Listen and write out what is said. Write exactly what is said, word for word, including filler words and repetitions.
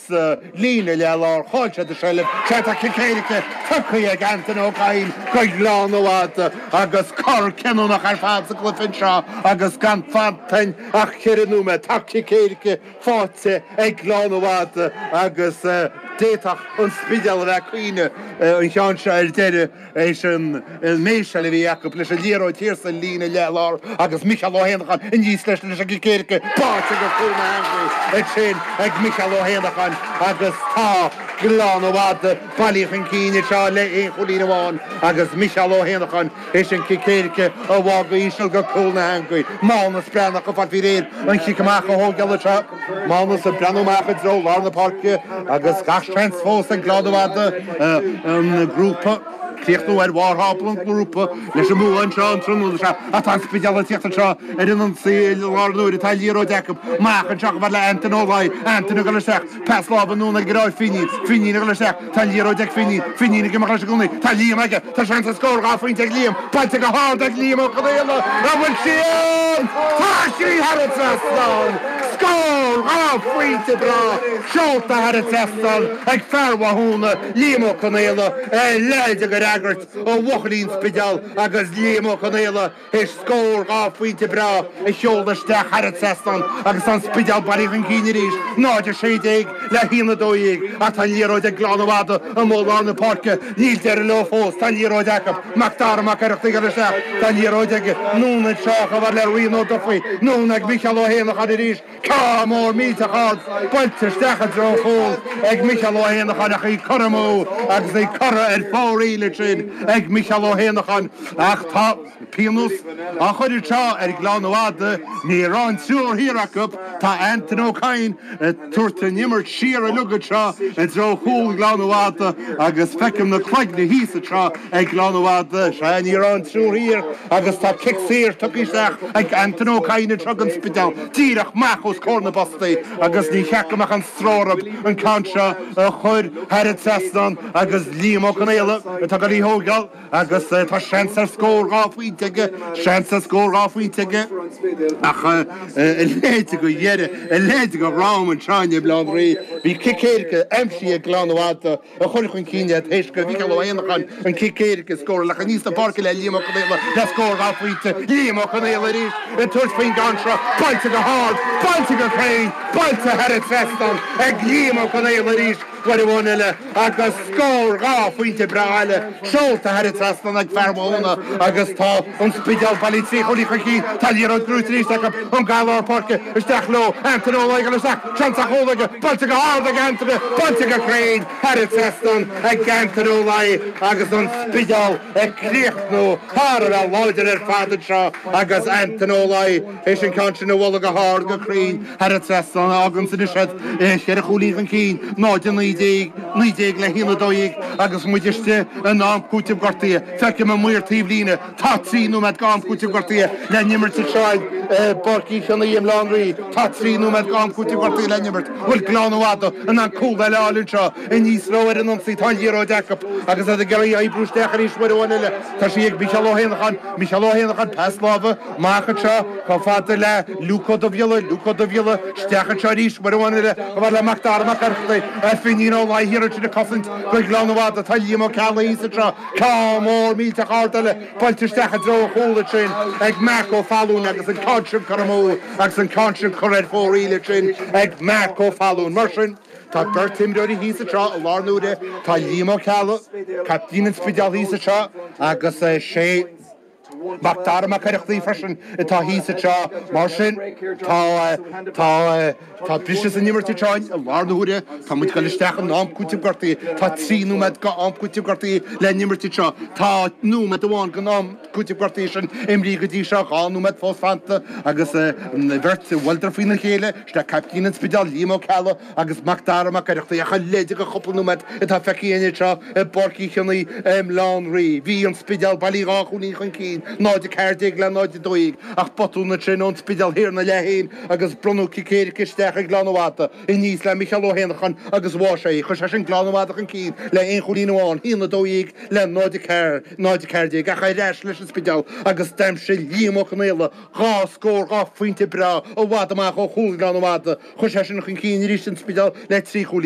sa líne leath-láir, chaill siad an tseilbh, sea tá cic éirice tugtha ag Antaine Ó Cadhain go Gleann Fhada agus cor cinniúnach ar fad sa gcluiche anseo agus gan fanta ach ceithre nóiméad. Tá cic éirice faighte ag Gleann Fhada agus d'fhéadfadh an Spidéal a bheith ag caoineadh an ceann seo ar deireadh éis an méiseáil a bhí acu leis an liathróid thiar sa líne leath-láir agus Micheál Ó hÉanacháin aníos leis leis an gcic éirice báite go cúl na heangaí ansin ag Micheál Ó hÉanacháin agus tá Gleann Fhada bailithe chun cinn anseo le aon chúilín amháin agus Micheál Ó hÉanacháin éis an cic éirice a bhá go híseal go cúl na heangaí. Mánas Breathnach ag fáil faoi réir an chic amach a thógáil anseo. Mánas ag breathnú amach i dtreo lár na páirce agus gach seans fós ag Gleann Fhada an grúpa críochnú ar bharr thábla an ghrúpa leis an mbua anseo an tráthnóna seo. Ach tá an Spidéal ag tíocht anseo ar an ionsaí i lár an uaire. Tá an liathróid acu. Amach anseo chomh fada le Antaine Ó Laoi. Antaine ag dul isteach. Pas láimhe anonn ag ar Finín. Finín ag dul isteach. Tá an liathróid ag Finín. Finín ag imeacht leis i gcónaí. Tá Liam aige. Tá seans ar scór dhá phointe ag Liam. Buailte go hard ag Liam Ó Conaola. An bhfuil sí ann? Tá sí thar an trasnán! Scór dhá phointe breá seolta thar an trasnán ag fear Mhathúna, Liam Ó Conaola, a leithéid de fhreagairt ó bhuachaillí an Spidéil agus Liam Ó Conaola théis scór dhá phointe breá a sheoladh isteach thar an trasnán agus tá an Spidéal bailithe chun cinn arís, náid a sé déag le haon a dó dhéag ach tá an liathróid ag Gleann Fhada amuigh i lár na páirce, níl deireadh leo fós, tá an liathróid acu, Mac Dara Mac Oireachtaigh ag dul isteach, tá an liathróid aige anonn anseo chomh fada le Rian Ó Dufaigh, anonn ag Micheál Ó hÉanacháin arís, ceann mór millteach ard buailte isteach i dtreo an chúil ag Micheál Ó hÉanacháin ach í curtha amú agus í curtha ar fóraoil ansin ag Micheál Ó hÉanacháin ach tá pionós á chur anseo ar Ghleann Fhada, ní raibh an triúr thiar acu, tá Antaine Ó Cadhain ag tabhairt an imirt siar uilig anseo i dtreo chúl Ghleann Fhada agus feicim na cloigne thíos anseo ag Gleann Fhada, sea ní raibh an triúr thiar agus tá cic saor tugtha isteach ag Antaine Ó Cadhain anseo don Spidéal díreach amach os comhair na bpostaí agus ní cheart go mbeadh an stró orthu an ceann seo a chur thar an trasnán agus Liam Ó Conaola atá ag dul í thógáil agus tá seans ar scór dhá phointe aige, seans ar scór dhá phointe aige ach a leithéid de dheireadh, a leithéid de dhráma anseo i mBaile Átha an Rí. Bhí cic éirice aimsithe ag Gleann Fhada a chuir chun cinn iad théis go Mhicheál Ó hÉanacháin an cic éirice a scóráil ach aníos na páirce le Liam Ó Conaola le scór dhá phointe. Liam Ó Conaola arís ag tabhairt faoin gceann seo, buailte go hard, buailte go cruinn, buailte thar an trasnán ag Liam Ó Conaola arís uair amháin eile agus scór dhá phointe breá eile seolta thar an trasnán ag fear Mhathúna agus tá an Spidéal bailithe trí chúilín chun cinn. Tá an liathróid gnóite arís acu ón gcath lár páirce isteach leo. Antaine Ó Laoi ag dul isteach, seans ar chúl aige, buailte go hard ag Antaine, buailte go cruinn thar an trasnán ag Antaine Ó Laoi agus an Spidéal ag críochnú thar a bheith láidir ar fad anseo agus Antaine Ó Laoi théis an ceann sin a bhualadh go hard go cruinn thar an trasnán a fháganns anois iad cheithre chúilín chun cinn, náid a naoi déag, naoi déag le haon a dó dhéag agus muid istigh in am cúitimh gortaithe. Feicim an maor taobhlíne, tá trí nóiméad go am cúitimh gortaithe le n-imirt anseo i bPáirc Uí Chionnaith i mBaile Átha an Rí. Tá trí nóiméad go am cúitimh gortaithe le n-imirt. Bhfuil Gleann Fhada in ann cúl eile a fháil anseo? Aníos leo ar an ionsaí, tá an liathróid acu agus iad ag iarraidh oibriú isteach arís uair amháin eile. Tá sí ag Micheál Ó hÉanacháin, Micheál Ó hÉanacháin, pas láimhe amach anseo chomh fada le Luke Ó Dubhghiolla, Luke Ó Dubhghiolla, isteach anseo arís uair amháin eile chomh fada le Mac Dara Mac Oireachtaigh, Finín Ó Laoi thiar ansin ag cosaint do Ghleann Fhada. Tá Liam Ó Ceallaigh thíos anseo, ceann mór millteach ard eile buailte isteach i dtreo an chúil ansin ag Marc Ó Fallúin agus an ceann sin curtha amú agus an ceann sin curtha ar fóraoil ansin ag Marc Ó Fallúin. Mar sin, tá beirt imreoirí thíos anseo i lár na huaire, tá Liam Ó Ceallaigh, caiptín an Spidéil thíos anseo agus sé Mac Dara Mac Oireachtaigh freisin atá thíos anseo. Mar sin, tá tá tá briseadh san imirt anseo i lár na huaire. Tá muid ag dul isteach in am cúitimh gortaithe. Tá trí nóiméad go am cúitimh gortaithe le n-imirt anseo. Tá nóiméad amháin den am cúitimh gortaithe sin imrithe go dtí seo, dhá nóiméad fós fanta agus an bheirt bhuaileadar faoina chéile. Sin é caiptín an Spidéil, Liam Ó Ceallaigh agus Mac Dara Mac Oireachtaigh ach a leithéid de chúpla nóiméad atá feicthe againn anseo i bPáirc Uí Chionnaith i mBaile Átha an Rí. Bhí an Spidéal bailithe dhá chúilín chun cinn, náid a ceathair déag le náid a dó dhéag, ach botún ansin ón Spidéal thiar ina leath féin agus bronnadh cic éirice isteach ag Gleann Fhada aníos le Micheál Ó hÉanacháin agus bháigh sé í. Chuir sé sin Gleann Fhada chun cinn le aon chúilín amháin, haon a dó dhéag le náid a ceathair, náid a ceathair déag, ach ar ais leis an Spidéal agus d'aimsigh Liam Ó Conaola dhá scór, dhá phointe breá i bhfad amach ó chúl Ghleann Fhada. Chuir sé sin chun cinn arís an Spidéal le trí chúilín.